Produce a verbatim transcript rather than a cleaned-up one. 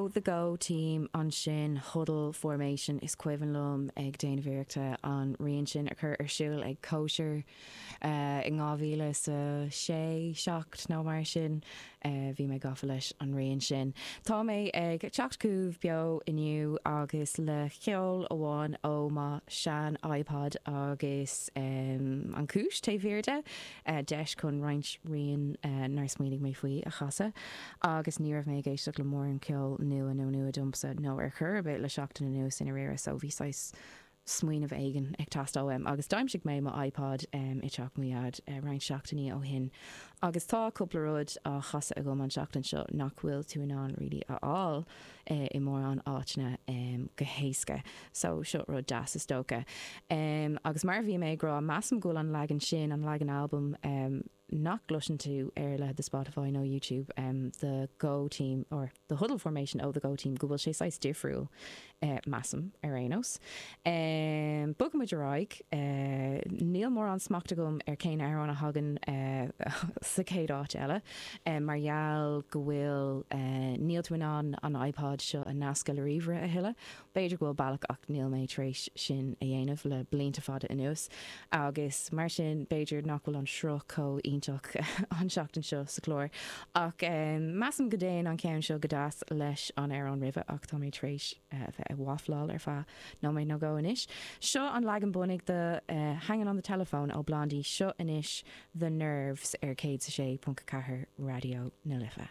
Ó The Go Team ansin Huddle Formation is cuimhin liom ag déanamh iarrachta an rian sin a chur ar siúl ag cóisir uh, in dhá mhíle sa sé seacht nó mar sin uh, bhí mé gafa leis an rian sin. Tá mé ag teacht chugaibh beo inniu agus le ceol amháin ó mo shean iPod agus um, an cúis taobh thiar de uh, deis chun roinnt rian uh, nár smaoinigh mé faoi a chasadh agus ní raibh mé ag éisteacht le mórán ceol nua nó nua domsa nó ar chor ar bith le seachtain anuas ina réire so bhí saghas smaoineamh éigin ag teastáil uaim agus d'aimsigh mé mo iPod um, i teach mo dhaid uh, roinnt seachtainí ó shin. Agus tá cúpla rud á chasadh agam an seachtain seo nach bhfuil tú in ann really a fháil uh, i mórán áiteanna um, go héasca, so seo rud deas is dócha. Um, agus mar bhí mé ag rá measaim go bhfuil an leagan sin an leagan album um, nach gcloiseann tú ar le the Spotify nó YouTube um, the Go team or the Huddle Formation ó the Go team go bhfuil sé saghas difriúil uh, measaim ar aon nós. Um, Bogaimid ar aghaidh uh, níl mórán smacht agam ar cén amhrán a thagann uh, sa chéad áit eile um, mar gheall go bhfuil uh, níl tú in ann an iPod seo a nascadh le ríomhaire a thuilleadh. B'fhéidir go bhfuil bealach ach níl mé tar éis sin a dhéanamh le blianta fada anuas agus mar sin b'fhéidir nach bhfuil an sruth chomh iontach an seachtain seo sa chlár ach um, measaim go dtéann an ceann seo go deas leis an amhrán roimhe ach tá mé tar éis uh, bheith ag wafláil ar feadh nóiméad nó dhó anois. Seo an leagan bunaidh de uh, Hanging on the Telephone ó Blondie seo anois The Nerves ar céad sa sé ponc ceathair Raidió na Life.